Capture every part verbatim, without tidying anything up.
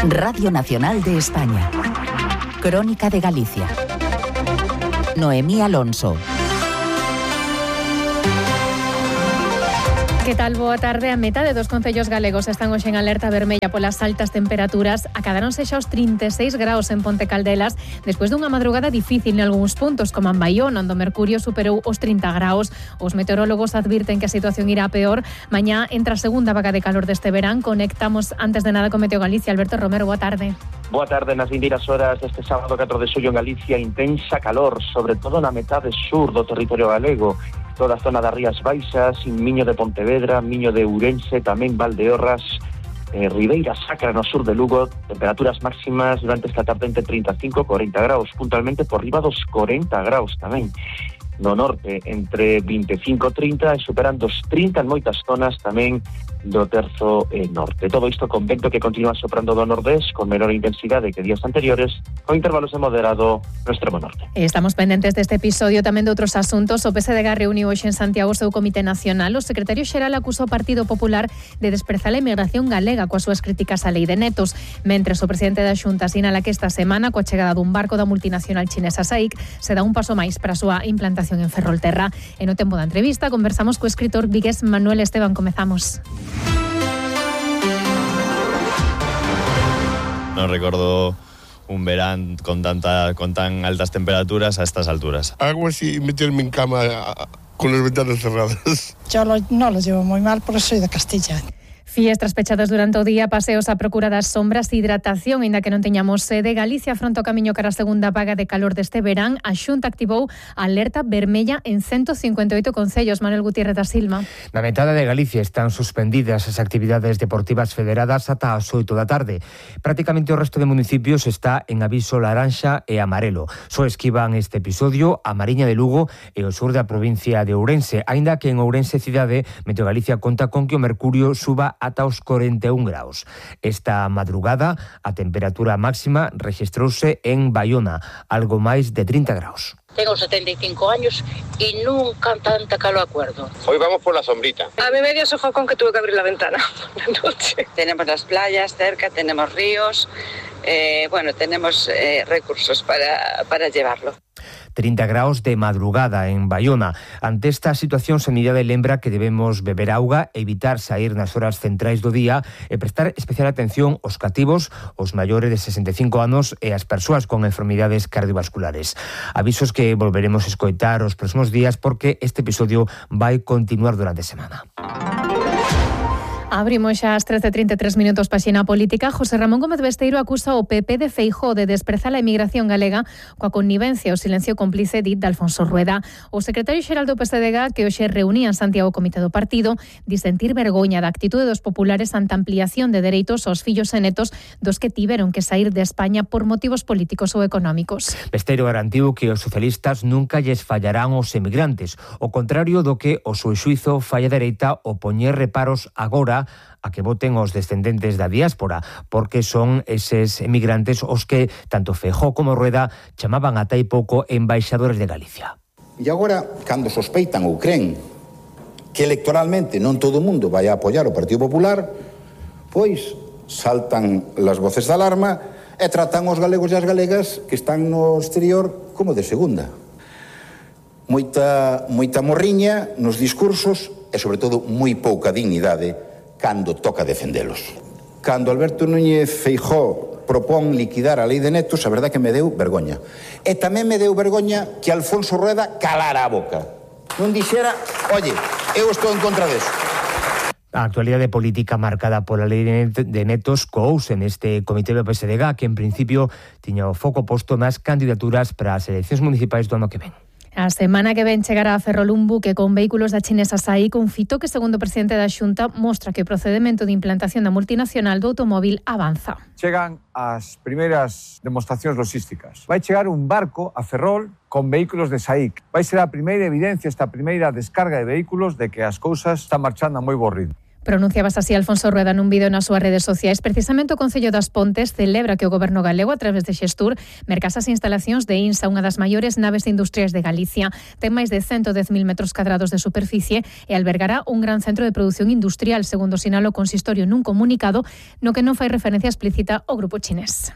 Radio Nacional de España. Crónica de Galicia. Noemí Alonso. Que tal? Boa tarde. A metade dos concellos galegos están hoxe en alerta vermella polas altas temperaturas. Acadáronse xa os trinta e seis graus en Ponte Caldelas despois dunha madrugada difícil en algúns puntos, como en Baiona, onde o mercurio superou os trinta graus. Os meteorólogos advirten que a situación irá peor. Mañá entra a segunda vaga de calor deste verán. Conectamos antes de nada con Meteo Galicia. Alberto Romero, boa tarde. Boa tarde. Nas vindeiras horas deste sábado catro de xullo en Galicia, intensa calor, sobre todo na metade sur do territorio galego. Toda a zona das Rías Baixas, Miño de Pontevedra, Miño de Ourense, tamén Valdeorras, eh, Ribeira Sacra no sur de Lugo, temperaturas máximas durante esta tarde entre trinta e cinco e corenta graus, puntualmente por riba dos corenta graus tamén. No norte, entre vinte e cinco e trinta, e superando os trinta en moitas zonas tamén do terzo eh, norte. Todo isto con vento que continúa soprando do nordés, con menor intensidade que días anteriores, con intervalos de moderado no extremo norte. Estamos pendentes deste episodio tamén de outros asuntos. O P S D G reuniu hoxe en Santiago o seu Comité Nacional. O secretario xeral acusou ao Partido Popular de desprezar a inmigración galega coas súas críticas á lei de netos, mentres o presidente da Xunta sinala que esta semana, coa chegada dun barco da multinacional chinesa S A I C, se dá un paso máis para a súa implantación en Ferrolterra. En o tempo da entrevista conversamos co escritor vigués Manuel Esteban. Comezamos. No recuerdo un verán con tanta con tan altas temperaturas a estas alturas. Algo así, meterme en cama con las ventanas cerradas. Yo lo, no lo llevo muy mal porque soy de Castilla. Fiestras pechadas durante o día, paseos a procura das sombras, hidratación, aínda que non teñamos sede. Galicia afronta o camiño cara a segunda vaga de calor deste verán. A Xunta activou a alerta vermella en ciento cincuenta e oito concellos. Manuel Gutiérrez da Silva. Na metade de Galicia están suspendidas as actividades deportivas federadas ata as oito da tarde. Prácticamente o resto de municipios está en aviso laranxa e amarelo. Só esquivan este episodio a Mariña de Lugo e o sur da provincia de Ourense, aínda que en Ourense cidade Meteo Galicia conta con que o mercurio suba ata os corenta e un graus. Esta madrugada a temperatura máxima rexistrouse en Baiona, algo máis de trinta graus. Tengo setenta y cinco años y nunca tanta calor acuerdo. Hoy vamos por la sombrita. A mí me dio sofocón que tuve que abrir la ventana por la noche. Tenemos las playas cerca, tenemos ríos, eh, bueno, tenemos eh, recursos para, para llevarlo. trinta graus de madrugada en Baiona. Ante esta situación, Sanidade lembra que debemos beber auga, evitar sair nas horas centrais do día e prestar especial atención aos cativos, os maiores de sesenta e cinco anos e as persoas con enfermidades cardiovasculares. Avisos que volveremos a escoitar os próximos días porque este episodio vai continuar durante a semana. Abrimos xa as trece e trinta e tres minutos páxina política. José Ramón Gómez Besteiro acusa o P P de Feijóo de desprezar a emigración galega coa connivencia e o silencio cómplice dit de Alfonso Rueda. O secretario xeral do P S D G, que hoxe reunía en Santiago o comité do partido, di sentir vergoña da actitude dos populares ante a ampliación de dereitos aos fillos e netos dos que tiveron que sair de España por motivos políticos ou económicos. Besteiro garantiu que os socialistas nunca lles fallarán aos emigrantes, o contrario do que o seu xuizo falla dereita o poñer reparos agora a que voten os descendentes da diáspora, porque son eses emigrantes os que tanto Feijóo como Rueda chamaban ata hai pouco embaixadores de Galicia. E agora, cando sospeitan ou creen que electoralmente non todo o mundo vai a apoiar o Partido Popular, pois saltan as voces de alarma e tratan os galegos e as galegas que están no exterior como de segunda. Moita, moita morriña nos discursos e, sobre todo, moi pouca dignidade cando toca defendelos. Cando Alberto Núñez Feijóo propón liquidar a lei de netos, a verdade que me deu vergoña. E tamén me deu vergoña que Alfonso Rueda calara a boca. Non dixera, oye, eu estou en contra deso. A actualidade política marcada pola lei de netos couse neste comité do P S D G, que en principio tiña o foco posto nas candidaturas para as eleccións municipais do ano que ven. A semana que ven chegará a Ferrol un buque con vehículos da chinesa S A I C, un fito que, segundo o presidente da Xunta, mostra que o procedemento de implantación da multinacional do automóvil avanza. Chegan as primeiras demostracións logísticas. Vai chegar un barco a Ferrol con vehículos de S A I C. Vai ser a primeira evidencia, esta primeira descarga de vehículos de que as cousas están marchando a moi bo ritmo. Pronunciabas así Alfonso Rueda nun vídeo nas súas redes sociais. Precisamente o Concello das Pontes celebra que o Goberno galego, a través de Xestur, mercase as instalacións de INSA, unha das maiores naves industriais de Galicia. Ten máis de ciento dez mil metros cadrados de superficie e albergará un gran centro de produción industrial, segundo sinala o consistorio nun comunicado no que non fai referencia explícita ao grupo chinés.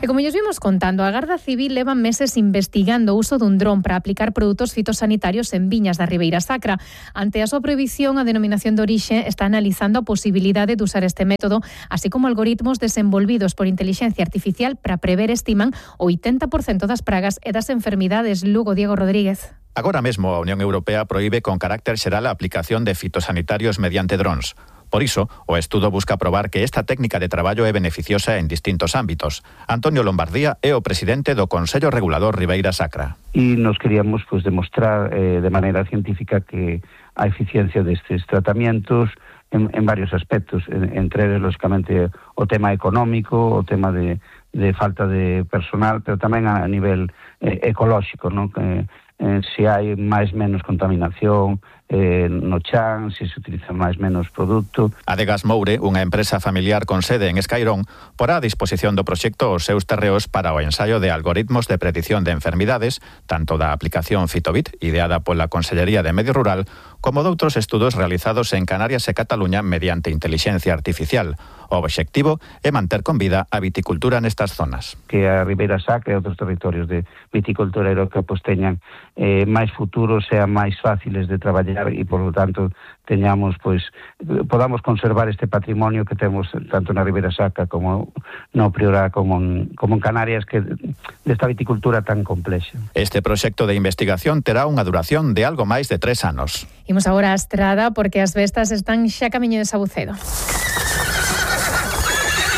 E como lles vimos contando, a Garda Civil leva meses investigando o uso dun dron para aplicar produtos fitosanitarios en viñas da Ribeira Sacra. Ante a súa prohibición, a denominación de orixe está analizando a posibilidade de usar este método, así como algoritmos desenvolvidos por inteligencia artificial para prever, estiman, o oitenta por cento das pragas e das enfermidades. Lugo, Diego Rodríguez. Agora mesmo a Unión Europea proíbe con carácter xeral a aplicación de fitosanitarios mediante drons. Por iso, o estudo busca probar que esta técnica de traballo é beneficiosa en distintos ámbitos. Antonio Lombardía é o presidente do Consello Regulador Ribeira Sacra. E nos queríamos pues, demostrar eh, de maneira científica que a eficiencia destes tratamientos en, en varios aspectos, en, entre eles, lógicamente, o tema económico, o tema de, de falta de personal, pero tamén a nivel eh, ecolóxico, ¿no? Que, eh, se hai máis menos contaminación eh, no chan, se se utiliza máis menos produto. Adegas Moure, unha empresa familiar con sede en Escairón, porá a disposición do proxecto os seus terreos para o ensaio de algoritmos de predicción de enfermidades, tanto da aplicación Fitobit, ideada pola Consellería de Medio Rural, como doutros estudos realizados en Canarias e Cataluña mediante inteligencia artificial. O obxectivo é manter con vida a viticultura nestas zonas. Que a Ribeira Sacra e outros territorios de viticultura que pues, teñan eh, máis futuro, sean máis fáciles de traballar e, por lo tanto, teñamos, pues, podamos conservar este patrimonio que temos tanto na Ribeira Sacra como no Priorat, como en, como en Canarias, que desta viticultura tan complexa. Este proxecto de investigación terá unha duración de algo máis de tres anos. Imos agora a Estrada porque as bestas están xa camiño de Sabucedo.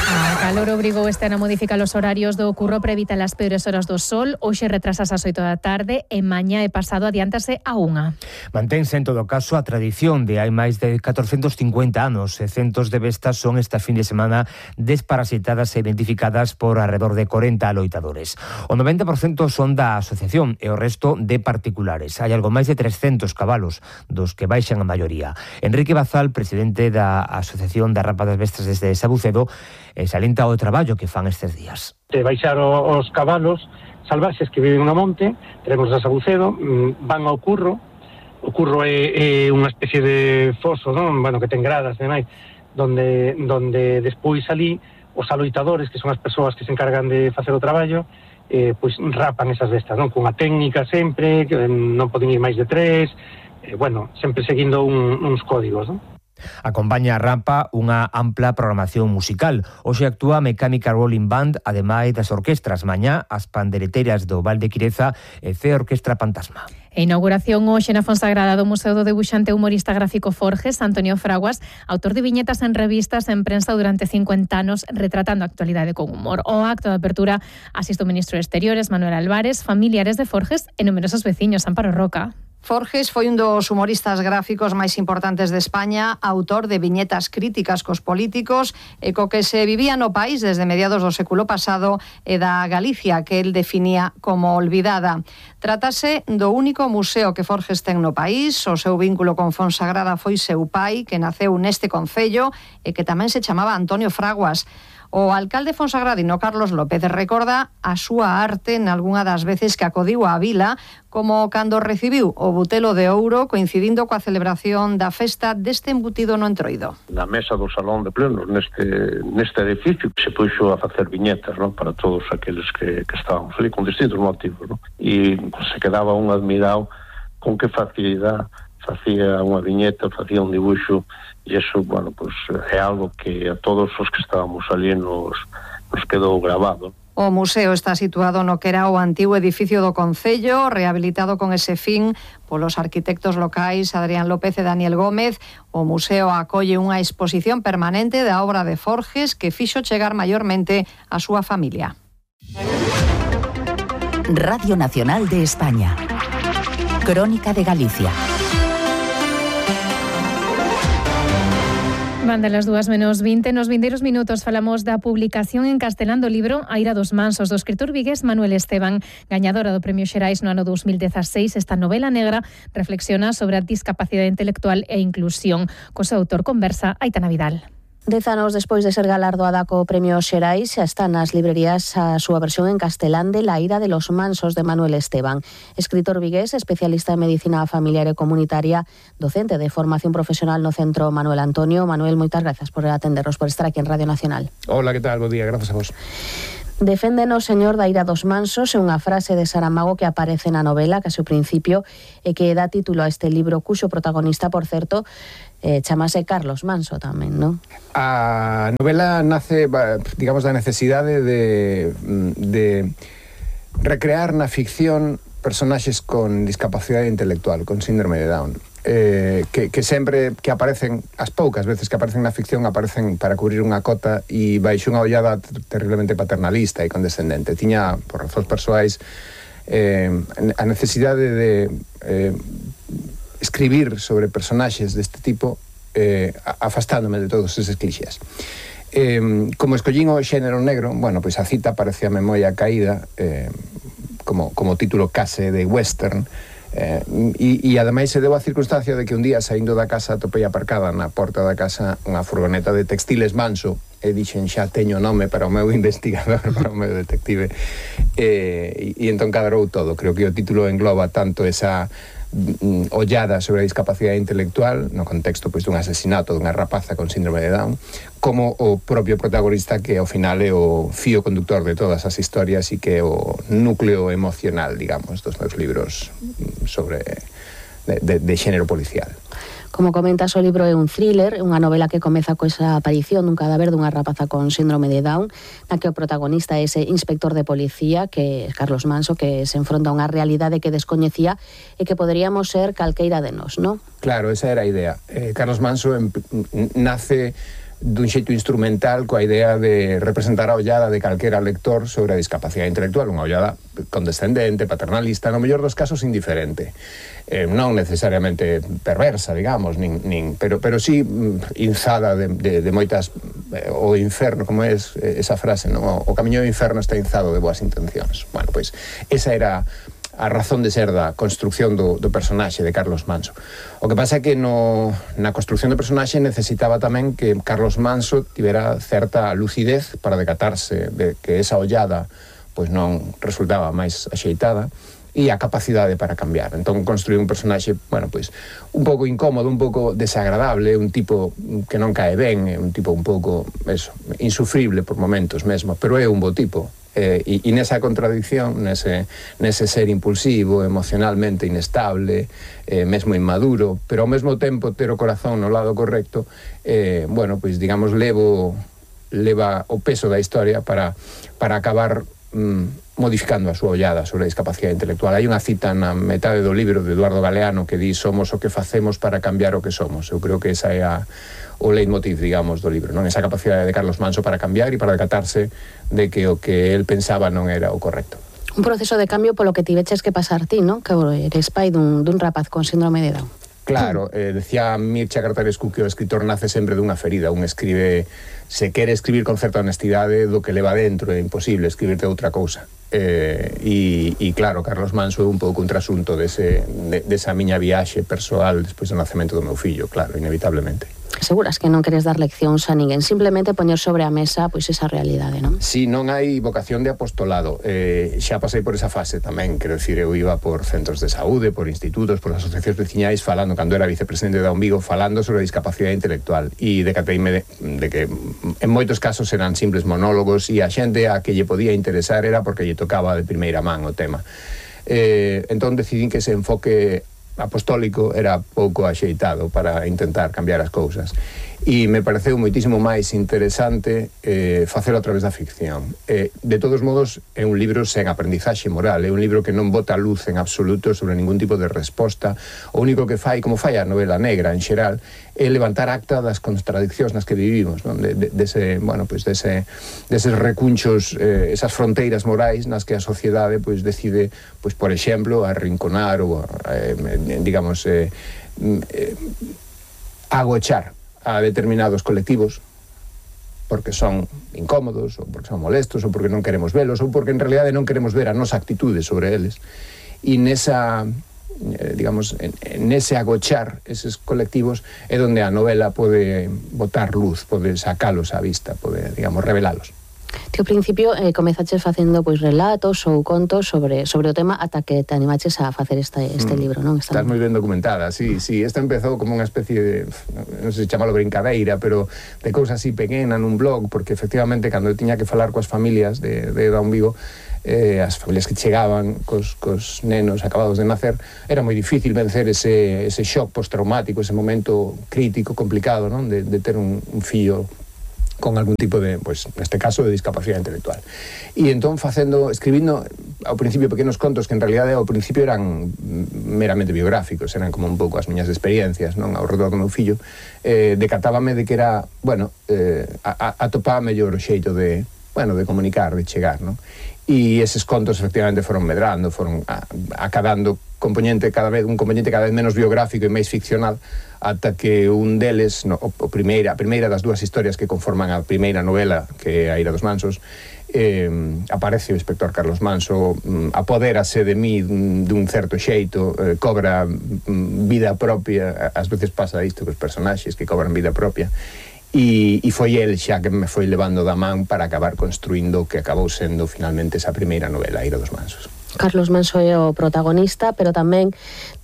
A calor obrigou este ano a modificar os horarios do curro para evitar as peores horas do sol. Hoxe retrasas ás oito da tarde e mañá e pasado adiántase a unha. Mantense en todo caso a tradición de hai máis de catrocentos cincuenta anos e centos de bestas son esta fin de semana desparasitadas e identificadas por alrededor de corenta loitadores. O noventa por cento son da asociación e o resto de particulares. Hai algo máis de trescentos cabalos, dos que baixan a maioría. Enrique Bazal, presidente da Asociación da Rapa das Bestas desde Sabucedo, e salienta o traballo que fan estes días. De baixar os cabalos salvaxes que viven no monte, teremos a Sabucedo, van ao curro. O curro é, é unha especie de foso, non? Bueno, que ten gradas, demais, donde, donde despois ali os aloitadores, que son as persoas que se encargan de facer o traballo, eh, pois rapan esas bestas, non? Cunha técnica sempre, que non poden ir máis de tres, eh, bueno, sempre seguindo un, uns códigos, non? Acompaña a rampa unha ampla programación musical. Hoxe actúa a Mecánica Rolling Band, ademais das orquestras. Mañá, as pandereteiras do Val de Quireza e C Orquestra Pantasma. A inauguración hoxe na Fonsagrada do Museo do Debuxante e Humorista Gráfico Forges, Antonio Fraguas, autor de viñetas en revistas en prensa durante cincuenta anos, retratando a actualidade con humor. O acto de apertura asiste o ministro de Exteriores, Manuel Álvarez, familiares de Forges e numerosos veciños. Amparo Roca. Forges foi un dos humoristas gráficos máis importantes de España, autor de viñetas críticas cos políticos e co que se vivía no país desde mediados do século pasado e da Galicia que el definía como olvidada. Trátase do único museo que Forges ten no país. O seu vínculo con Fonsagrada foi seu pai, que naceu neste concello e que tamén se chamaba Antonio Fraguas. O alcalde fonsagradiño Carlos López recorda a súa arte nalgunha das veces que acodiu á vila, como cando recibiu o butelo de ouro coincidindo coa celebración da festa deste embutido no Entroido. Na mesa do salón de plenos neste, neste edificio se puxo a facer viñetas, ¿no? Para todos aqueles que, que estábamos ali con distintos motivos, ¿no? E se quedaba un admirado con que facilidade facía unha viñeta, facía un dibuixo, e iso, bueno, pues é algo que a todos os que estábamos ali nos, nos quedou grabado. O museo está situado no que era o antigo edificio do Concello, rehabilitado con ese fin polos arquitectos locais Adrián López e Daniel Gómez. O museo acolle unha exposición permanente da obra de Forges que fixo chegar maiormente a súa familia. Radio Nacional de España. Crónica de Galicia. Van de las dúas menos vinte. Nos vindeiros minutos falamos da publicación en castelán do libro A ira dos mansos, do escritor vigués Manuel Esteban. Gañadora do Premio Xerais no ano dos mil dezaseis, esta novela negra reflexiona sobre a discapacidade intelectual e inclusión. Co seu autor conversa Aitana Vidal. Dez anos despois de ser galardoada co Premio Xerais, xa está nas librerías a súa versión en castelán de La ira de los mansos, de Manuel Esteban. Escritor vigués, especialista en medicina familiar e comunitaria, docente de formación profesional no Centro Manuel Antonio. Manuel, moitas grazas por atendernos, por estar aquí en Radio Nacional. Hola, que tal? Bo día, grazas a vos. Deféndenos, señor, da ira dos mansos, é unha frase de Saramago que aparece na novela, case ao principio, e que dá título a este libro, cuxo protagonista, por certo, eh, chamase Carlos Manso tamén, non? A novela nace, digamos, da necesidade de, de recrear na ficción personaxes con discapacidade intelectual, con síndrome de Down. Eh, que, que sempre que aparecen, as poucas veces que aparecen na ficción, aparecen para cubrir unha cota e baixo unha ollada terriblemente paternalista e condescendente. Tiña, por razóns persoais, eh, a necesidade de eh, escribir sobre personaxes deste tipo, eh, afastándome de todos eses clixés. Eh, como escollín o xénero negro, bueno, pois a cita parecíame moi a caída, eh, como, como título case de western. Eh, e, e ademais se deu a circunstancia de que un día saindo da casa atopei aparcada na porta da casa unha furgoneta de textiles Manso e dixen xa teño nome para o meu investigador, para o meu detective, e, e entón cadrou todo. Creo que o título engloba tanto esa mm, ollada sobre a discapacidade intelectual no contexto pois dun asesinato dunha rapaza con síndrome de Down, como o propio protagonista que ao final é o fío conductor de todas as historias e que é o núcleo emocional, digamos, dos meus libros sobre de, de, de xénero policial. Como comentas, o libro é un thriller, unha novela que comeza co esa aparición dun cadáver dunha rapaza con síndrome de Down, na que o protagonista é ese inspector de policía, que é Carlos Manso, que se enfronta a unha realidade que descoñecía e que poderíamos ser calqueira de nós, non? Claro, esa era a idea. Eh, Carlos Manso en, nace dun xeito instrumental coa idea de representar a ollada de calquera lector sobre a discapacidade intelectual, unha ollada condescendente, paternalista, no mellor dos casos indiferente. Eh, non necesariamente perversa, digamos, nin, nin, pero, pero sí inzada de, de, de moitas eh, o inferno, como é esa frase, non? O, o camiño do inferno está inzado de boas intencións. Bueno, pois esa era a razón de ser da construcción do, do personaxe de Carlos Manso. O que pasa é que no, na construcción do personaxe necesitaba tamén que Carlos Manso tivera certa lucidez para decatarse de que esa ollada pois non resultaba máis axeitada e a capacidade para cambiar. Entón construí un personaxe, bueno, pois un pouco incómodo, un pouco desagradable, un tipo que non cae ben, un tipo un pouco, eso, insufrible por momentos mesmo, pero é un bo tipo. Eh, e, e nesa contradicción, nese, nese ser impulsivo, emocionalmente inestable, eh, mesmo inmaduro, pero ao mesmo tempo ter o corazón no lado correcto, eh, bueno, pois digamos, levo leva o peso da historia para, para acabar mm, modificando a súa ollada sobre a discapacidade intelectual. Hai unha cita na metade do libro de Eduardo Galeano que di: somos o que facemos para cambiar o que somos. Eu creo que esa é a o leitmotiv, digamos, do libro, non? Esa capacidade de Carlos Manso para cambiar e para decatarse de que o que el pensaba non era o correcto. Un proceso de cambio polo que tiveches que pasar ti, non? Que eres pai dun, dun rapaz con síndrome de Down. Claro, eh, decía Mircea Cartarescu que o escritor nace sempre dunha ferida. Un escribe, se quere escribir con certa honestidade do que leva dentro, é imposible escribirte outra cousa. Eh, e, e claro, Carlos Manso é un pouco un trasunto dese, de, desa miña viaxe persoal despois do nacemento do meu fillo, claro, inevitablemente. Seguras que non queres dar leccións a ninguén, simplemente poñer sobre a mesa pois esa realidade, non? Si, non hai vocación de apostolado. Eh, xa pasei por esa fase tamén, quero dicir, eu iba por centros de saúde, por institutos, por asociacións veciñais, falando, cando era vicepresidente da Unvigo, falando sobre a discapacidade intelectual, e decateime de, de que en moitos casos eran simples monólogos e a xente a que lle podía interesar era porque lle tocaba de primeira man o tema. Eh, entón decidín que ese enfoque apostólico era pouco axeitado para intentar cambiar as cousas, e me pareceu moitísimo máis interesante eh, facelo a través da ficción. Eh, de todos modos, é un libro sen aprendizaxe moral, é un libro que non bota luz en absoluto sobre ningún tipo de resposta. O único que fai, como fai a novela negra en xeral, é levantar acta das contradiccións nas que vivimos, non? De, de, dese, bueno, pues dese, deses recunchos, eh, esas fronteiras morais nas que a sociedade pues, decide, pues, por exemplo, arrinconar ou, eh, digamos, eh, eh, agochar a determinados colectivos porque son incómodos, ou porque son molestos, ou porque non queremos velos, ou porque en realidade non queremos ver a nosa actitude sobre eles. E nesa, eh, digamos, en, en ese agochar eses colectivos é onde a novela pode botar luz, pode sacalos á vista, pode, digamos, revelalos. Ti ao principio eh, comezaches facendo pois relatos ou contos sobre sobre o tema ata que te animaches a facer este, este mm. libro, non? Esta Estás moi ben documentada, sí, sí. Esta empezou como unha especie de, non sei se chamalo brincadeira, pero de cousa así pequena nun blog, porque efectivamente cando eu tiña que falar coas familias de, de Down Vigo, eh, as familias que chegaban cos, cos nenos acabados de nacer, era moi difícil vencer ese, ese shock postraumático, ese momento crítico, complicado, non? De, de ter un, un fillo con algún tipo de, pues, neste caso, de discapacidade intelectual. E entón facendo, escribindo ao principio pequenos contos que en realidade ao principio eran meramente biográficos, eran como un pouco as miñas experiencias, non, ao redor do meu fillo, eh, decatábame de que era, bueno, eh, atopaba mellor o xeito de, bueno, de comunicar, de chegar, non? E eses contos efectivamente foron medrando, foron acadando componente cada vez, un componente cada vez menos biográfico e máis ficcional, ata que un deles, no, o primeira, a primeira das dúas historias que conforman a primeira novela, que é A ira dos mansos, eh, aparece o inspector Carlos Manso, apodérase de mí dun certo xeito, eh, cobra vida propia, ás veces pasa isto cos personaxes que cobran vida propia, e, e foi el xa que me foi levando da man para acabar construindo o que acabou sendo finalmente esa primeira novela, A ira dos mansos. Carlos Manso é o protagonista, pero tamén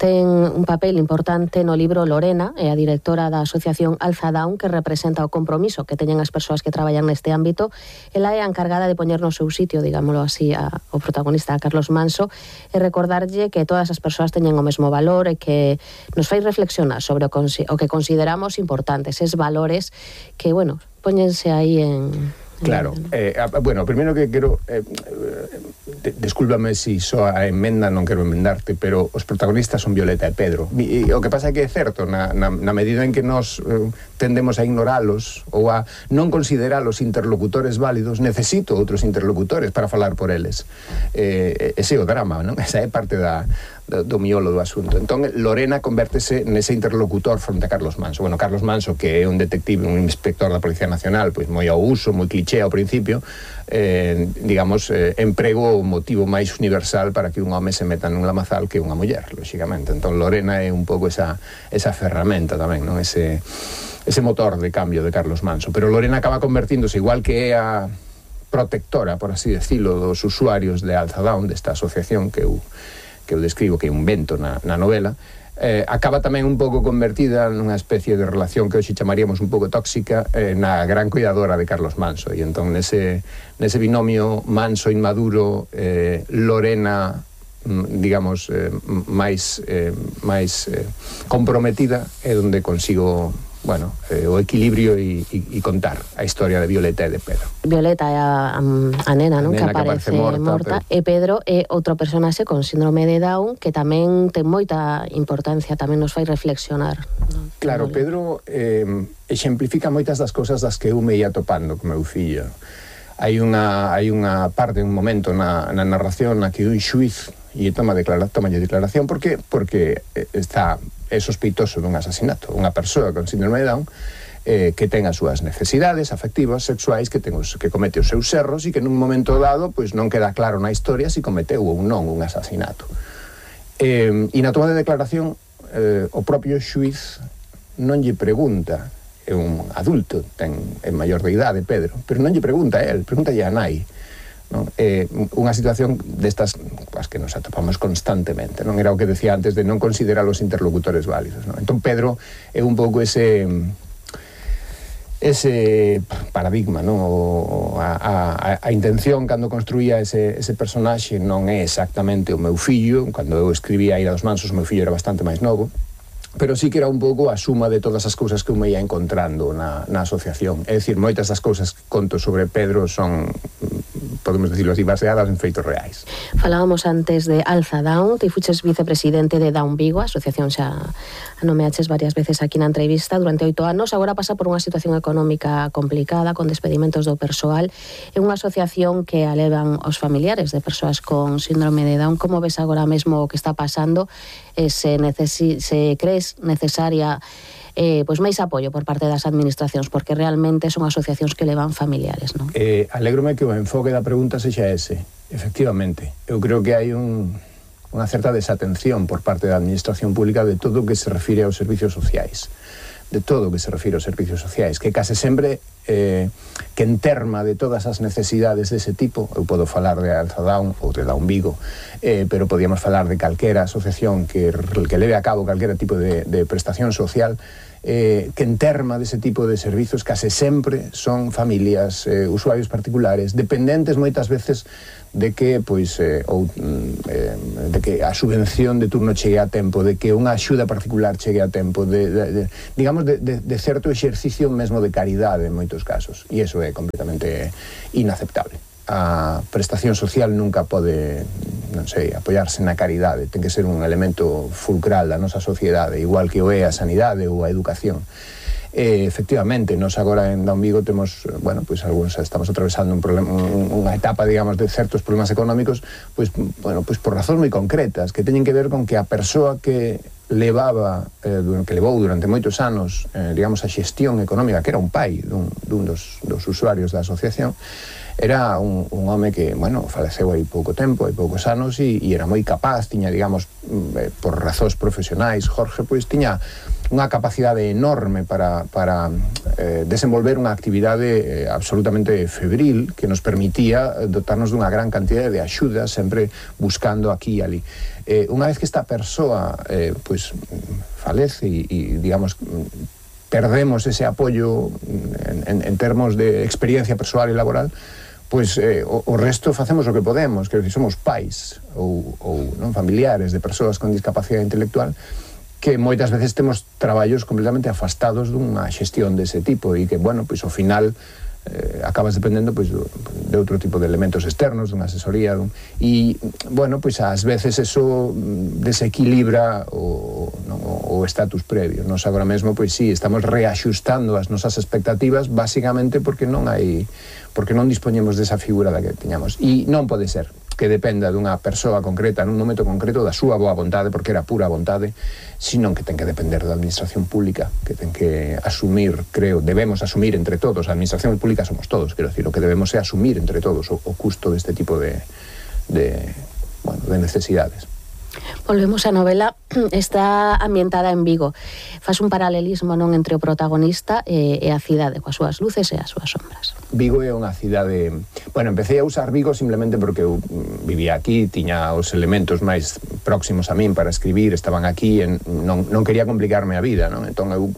ten un papel importante no libro Lorena, é a directora da asociación Alza Down, que representa o compromiso que teñen as persoas que traballan neste ámbito. Ela é a encargada de poñer no seu sitio, digámoslo así, a, o protagonista, a Carlos Manso, e recordarlle que todas as persoas teñen o mesmo valor e que nos fai reflexionar sobre o, o que consideramos importantes, es valores que, bueno, póñense aí en... Claro, eh, bueno, primeiro que quero eh, de, descúlpame se si só a emenda non quero emendarte, pero os protagonistas son Violeta e Pedro, e, e o que pasa é que é certo, na, na, na medida en que nos eh, tendemos a ignoralos ou a non consideralos interlocutores válidos, necesito outros interlocutores para falar por eles. Eh, ese é o drama, non? Esa é parte da do, do miolo do asunto. Entón, Lorena convértese nese interlocutor fronte a Carlos Manso. Bueno, Carlos Manso, que é un detective, un inspector da Policía Nacional, pois moi ao uso, moi cliché ao principio, eh, digamos, eh, emprego o motivo máis universal para que un home se meta nun lamazal que unha muller, lóxicamente. Entón, Lorena é un pouco esa, esa ferramenta tamén, non? Ese, ese motor de cambio de Carlos Manso. Pero Lorena acaba convertíndose, igual que é a protectora, por así decirlo, dos usuarios de Alza Down, desta asociación que eu que eu describo, que é un vento na, na novela, eh, acaba tamén un pouco convertida nunha especie de relación que hoxe chamaríamos un pouco tóxica, eh, na gran cuidadora de Carlos Manso. E entón nese, nese binomio Manso inmaduro, eh, Lorena, digamos, eh, máis, eh, máis eh, comprometida, é onde consigo, bueno, eh, o equilibrio e, e, e contar a historia de Violeta e de Pedro. Violeta é a, a nena, non? Que aparece, que aparece morta, morta pero... e Pedro é outro personaxe con síndrome de Down que tamén ten moita importancia, tamén nos fai reflexionar, non? Claro, Pedro eh, exemplifica moitas das cousas das que eu me ia topando con meu fillo. Hai unha, hai unha parte, un momento na, na narración na que un xuiz e toma, declara, toma declaración. Por que? Porque está é sospeitoso dun asasinato, unha persoa con síndrome de Down eh, que ten as súas necesidades afectivas, sexuais, que, ten os, que comete os seus erros e que nun momento dado pois non queda claro na historia se cometeu ou non un asasinato. Eh, e na toma de declaración eh, o propio xuiz non lle pregunta, é un adulto, ten é maior de idade, Pedro, pero non lle pregunta a él, pregunta a nai. Non? Eh, unha situación destas as que nos atopamos constantemente, non? Era o que decía antes de non considerar os interlocutores válidos, non? Entón Pedro é un pouco ese ese paradigma, non? O, a, a, a intención cando construía ese, ese personaxe non é exactamente o meu fillo. Cando eu escribía A ira dos mansos, o meu fillo era bastante máis novo, pero sí que era un pouco a suma de todas as cousas que eu me ia encontrando na, na asociación. É dicir, moitas das cousas que conto sobre Pedro son, podemos decirlo así, baseadas en feitos reais. Falábamos antes de Alza Down, ti fuches vicepresidente de Down Vigo, a asociación xa nomeaches varias veces aquí na entrevista durante oito anos, agora pasa por unha situación económica complicada, con despedimentos do persoal. É unha asociación que alevan os familiares de persoas con síndrome de Down. Como ves agora mesmo o que está pasando? Eh, se, necesi- se crees necesaria eh, pois máis apoio por parte das administracións, porque realmente son asociacións que levan familiares, non? Eh, alégrome que o enfoque da pregunta sexa ese. Efectivamente, eu creo que hai un, unha certa desatención por parte da administración pública de todo o que se refire aos servicios sociais. de todo o que se refire aos servicios sociais, que case sempre eh, que en terma de todas as necesidades dese tipo, eu podo falar de Alzadown ou de Down Vigo, eh, pero podíamos falar de calquera asociación que, que leve a cabo calquera tipo de, de prestación social, eh, que en terma dese tipo de servizos case sempre son familias, eh, usuarios particulares, dependentes moitas veces de que pois eh, ou eh, de que a subvención de turno chegue a tempo, de que unha axuda particular chegue a tempo, de, de, de digamos de, de, de certo exercicio mesmo de caridade en moitos casos, e iso é completamente inaceptable. A prestación social nunca pode, non sei, apoiarse na caridade, ten que ser un elemento fulcral da nosa sociedade, igual que o é a sanidade ou a educación. E, efectivamente, nós agora en Down Vigo temos, bueno, pois algúns estamos atravesando un problema, un, unha etapa, digamos, de certos problemas económicos, pois, bueno, pois por razóns moi concretas, que teñen que ver con que a persoa que levaba, eh, que levou durante moitos anos, eh, digamos, a xestión económica, que era un pai dun, dun dos, dos usuarios da asociación, era un, un home que, bueno, faleceu hai pouco tempo, hai poucos anos, e, e era moi capaz, tiña, digamos, eh, por razóns profesionais, Jorge, pois tiña unha capacidade enorme para, para eh, desenvolver unha actividade eh, absolutamente febril que nos permitía dotarnos dunha gran cantidade de axudas, sempre buscando aquí e ali. Eh, unha vez que esta persoa eh, pois, falece e, e, digamos, perdemos ese apoio en, en, en termos de experiencia persoal e laboral, pois eh, o, o resto facemos o que podemos, que somos pais ou, ou non, familiares de persoas con discapacidade intelectual, que moitas veces temos traballos completamente afastados dunha xestión dese tipo e que, bueno, pois ao final eh, acabas dependendo pois de outro tipo de elementos externos, dunha asesoría, dun... e, bueno, pois ás veces eso desequilibra o, non, o estatus previo. Nos agora mesmo, pois sí, estamos reaxustando as nosas expectativas basicamente porque non hai porque non dispoñemos desa figura da que teñamos. E non pode ser que dependa dunha persoa concreta nun momento concreto da súa boa vontade, porque era pura vontade, sino que ten que depender da administración pública, que ten que asumir, creo, debemos asumir entre todos, a administración pública somos todos, quero decir, o que debemos é asumir entre todos o, o custo deste tipo de, de, bueno, de necesidades. Volvemos á novela, está ambientada en Vigo. Faz un paralelismo non entre o protagonista e, e a cidade, coas súas luces e as súas sombras. Vigo é unha cidade... Bueno, empecé a usar Vigo simplemente porque eu vivía aquí, tiña os elementos máis próximos a min para escribir, estaban aquí, en, non, non quería complicarme a vida, non? Entón, eu,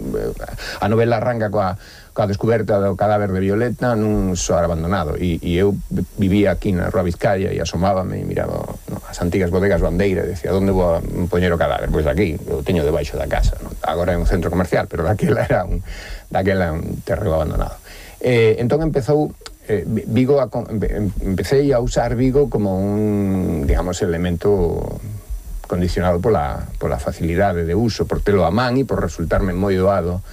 a novela arranca coa, coa descoberta do cadáver de Violeta nun soar abandonado, e, e eu vivía aquí na Rúa Vizcaya e asomábame e miraba no, as antigas bodegas Bandeira e decía, onde vou a poñer o cadáver? Pois aquí, eu teño debaixo da casa, non? Agora é un centro comercial, pero daquela era un, daquela un terreo abandonado. Eh, entón empezou eh, Vigo a, empecé a usar Vigo como un, digamos, elemento condicionado pola, pola facilidade de uso, por telo a man e por resultarme moi doado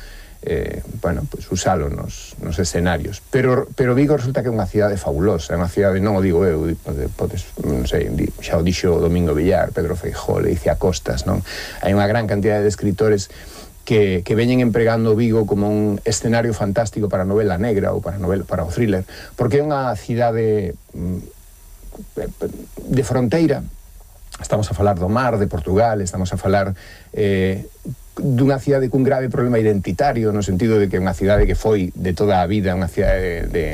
eh, bueno, pues usalo nos, nos escenarios, pero, pero Vigo resulta que é unha cidade fabulosa, é unha cidade, non o digo eu, podes, non sei, xa o dixo Domingo Villar, Pedro Feijóo, Leicia Costas, non? Hai unha gran cantidade de escritores que, que veñen empregando Vigo como un escenario fantástico para a novela negra ou para, novela, para o thriller, porque é unha cidade de fronteira. Estamos a falar do mar, de Portugal, estamos a falar eh, dunha cidade cun grave problema identitario, no sentido de que é unha cidade que foi de toda a vida unha cidade de,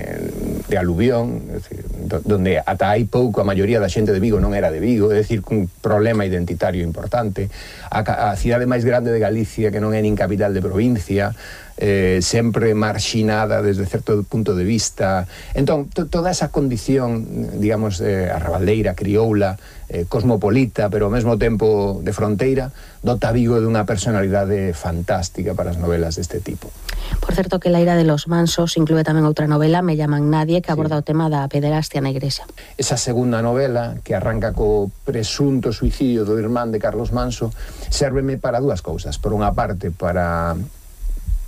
de aluvión, é dicir, donde ata hai pouco a maioría da xente de Vigo non era de Vigo, é dicir, cun problema identitario importante. A, a cidade máis grande de Galicia, que non é nin capital de provincia, eh, sempre marxinada desde certo punto de vista. Entón, to, toda esa condición, digamos, eh, arrabaldeira, crioula, eh, cosmopolita, pero ao mesmo tempo de fronteira, dota Vigo dunha personalidade fantástica para as novelas deste tipo. Por certo, que La ira de los mansos inclúe tamén outra novela, Me llaman nadie, que aborda sí. o tema da pederastia na igrexa. Esa segunda novela, que arranca co presunto suicidio do irmán de Carlos Manso, sérveme para dúas cousas. Por unha parte, para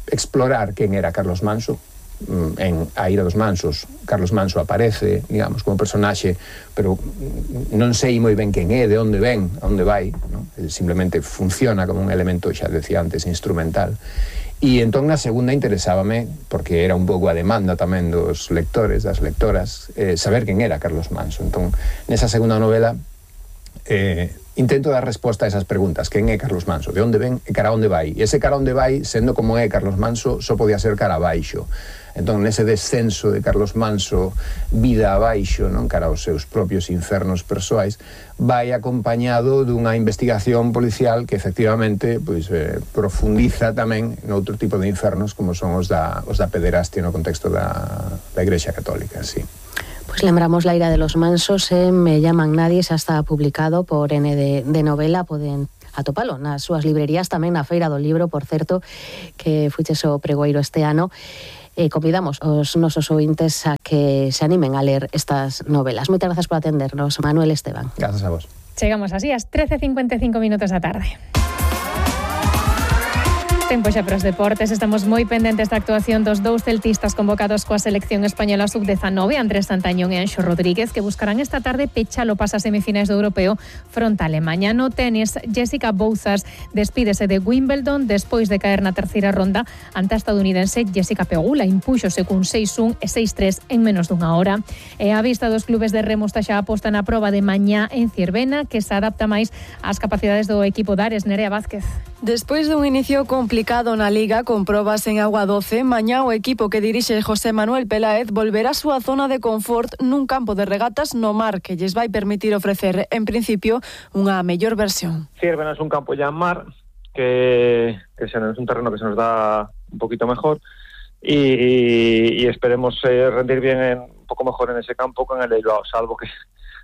explorar quen era Carlos Manso, en A ira dos mansos, Carlos Manso aparece, digamos, como personaxe, pero non sei moi ben quen é, de onde ven, a onde vai, non? Simplemente funciona como un elemento, xa decía antes, instrumental. E entón na segunda interesábame, porque era un pouco a demanda tamén dos lectores, das lectoras, eh, saber quen era Carlos Manso. Entón, nesa segunda novela, eh, intento dar resposta a esas preguntas. Quen é Carlos Manso? De onde ven e cara a onde vai? E ese cara a onde vai, sendo como é Carlos Manso, só podía ser cara abaixo. Entón, nese descenso de Carlos Manso, vida abaixo, non, cara aos seus propios infernos persoais, vai acompañado dunha investigación policial que efectivamente pois, eh, profundiza tamén noutro tipo de infernos como son os da, os da pederastia no contexto da, da Igrexa Católica, sí. Pues lembramos La ira de los mansos, eh, Me llaman nadie, xa está publicado por N de, de novela, poden atopalo nas súas librerías, tamén na Feira do Libro, por certo, que fuches o pregoeiro este ano. Eh, convidamos os nosos ouvintes a que se animen a ler estas novelas. Moitas grazas por atendernos, Manuel Esteban. Grazas a vos. Chegamos así ás trece e cincuenta e cinco minutos da tarde. Tempo xa para os deportes, estamos moi pendentes da actuación dos dous celtistas convocados coa selección española sub dezanove, Andrés Santañón e Anxo Rodríguez, que buscarán esta tarde pechalo para as semifinais do Europeo fronte a Alemanha. No tenis, Jessica Bouzas despídese de Wimbledon despois de caer na terceira ronda ante a estadounidense Jessica Pegula. Impúxose cun seis un e seis tres en menos dunha hora. E a vista dos clubes de remo está xa aposta na proba de mañá en Ciervena, que se adapta máis ás capacidades do equipo Dares. Nerea Vázquez. Despois dun inicio complicado na Liga con probas en auga doce, mañá o equipo que dirixe José Manuel Peláez volverá á súa zona de confort nun campo de regatas no mar que lles vai permitir ofrecer, en principio, unha mellor versión. Ciervena es un campo ya en mar, que, que es un terreno que se nos da un poquito mejor y, y, y esperemos eh, rendir bien en, un poco mejor en ese campo con el Bilbao, salvo que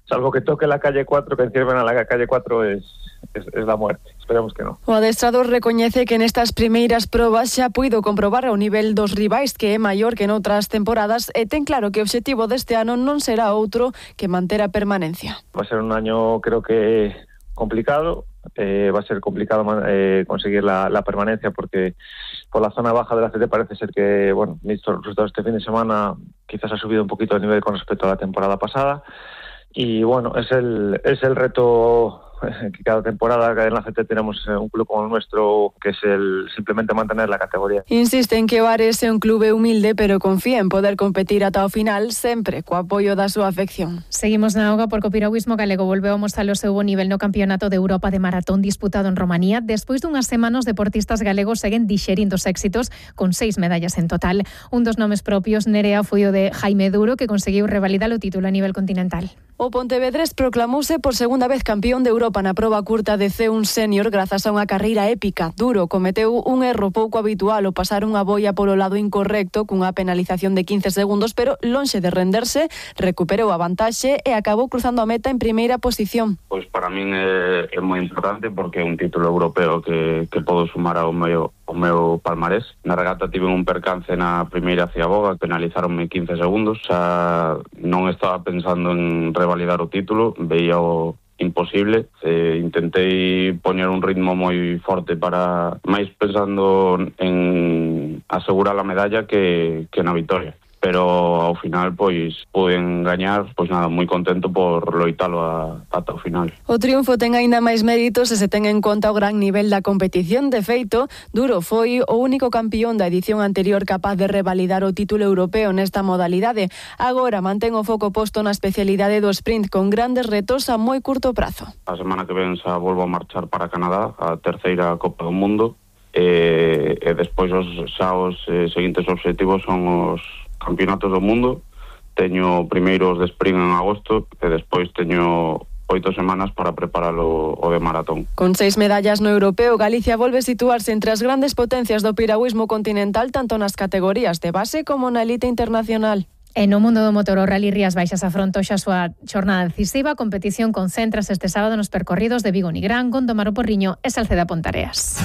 salvo que toque la calle cuatro, que en Ciervena la calle cuatro es, es, es la muerte. Esperemos que no. O adestrador recoñece que nestas primeiras probas xa puido comprobar o nivel dos rivais, que é maior que noutras temporadas, e ten claro que o obxectivo deste ano non será outro que manter a permanencia. Va a ser un año, creo que complicado, eh, va a ser complicado eh, conseguir la, la permanencia porque por la zona baja del A C T parece ser que, bueno, visto los resultados este fin de semana, quizás ha subido un poquito el nivel con respecto a la temporada pasada. Y bueno, es el es el reto que cada temporada en la C T tenemos un club como el nuestro, que es el simplemente mantener la categoría. Insiste en que o Ares é un clube humilde, pero confía en poder competir ata o final, sempre co apoio da súa afección. Seguimos na auga porque o piragüismo galego volveu a mostrar o seu bo nivel no Campeonato de Europa de Maratón disputado en Romanía. Despois dunhas semanas, os deportistas galegos seguen dixerindo os éxitos con seis medallas en total. Un dos nomes propios, Nerea, foi o de Jaime Duro, que conseguiu revalidar o título a nivel continental. O Pontevedrés proclamouse por segunda vez campeón de Europa na proba curta de C un Senior grazas a unha carreira épica. Duro cometeu un erro pouco habitual ao pasar unha boia polo lado incorrecto cunha penalización de quince segundos, pero lonxe de renderse, recuperou a vantaxe e acabou cruzando a meta en primeira posición. Pois para min é, é moi importante porque é un título europeo que, que podo sumar ao meu, ao meu palmarés. Na regata tive un percance na primeira ciaboga, penalizaronme quince segundos, xa non estaba pensando en revalidar o título, veía o imposible, eh, intentei poñer un ritmo moi forte para máis pensando en asegurar a medalla que, que na vitoria, pero ao final pois poden gañar, pois nada, moi contento por loitalo a, ata o final. O triunfo ten aínda máis méritos se se ten en conta o gran nivel da competición. De feito, Duro foi o único campeón da edición anterior capaz de revalidar o título europeo nesta modalidade. Agora mantén o foco posto na especialidade do sprint con grandes retos a moi curto prazo. A semana que ven xa volvo a marchar para Canadá, a terceira Copa do Mundo, e, e despois os, xa os eh, seguintes obxectivos son os campeonatos do mundo. Teño primeiros de sprint en agosto e despois teño oito semanas para preparar o, o de maratón. Con seis medallas no europeo, Galicia volve a situarse entre as grandes potencias do piragüismo continental, tanto nas categorías de base como na elite internacional. E no mundo do motor, o Rally Rías Baixas afrontou xa a súa xornada decisiva. A competición concéntrase este sábado nos percorridos de Vigo Nigrán, Gondomar o Porriño e Salceda Pontareas.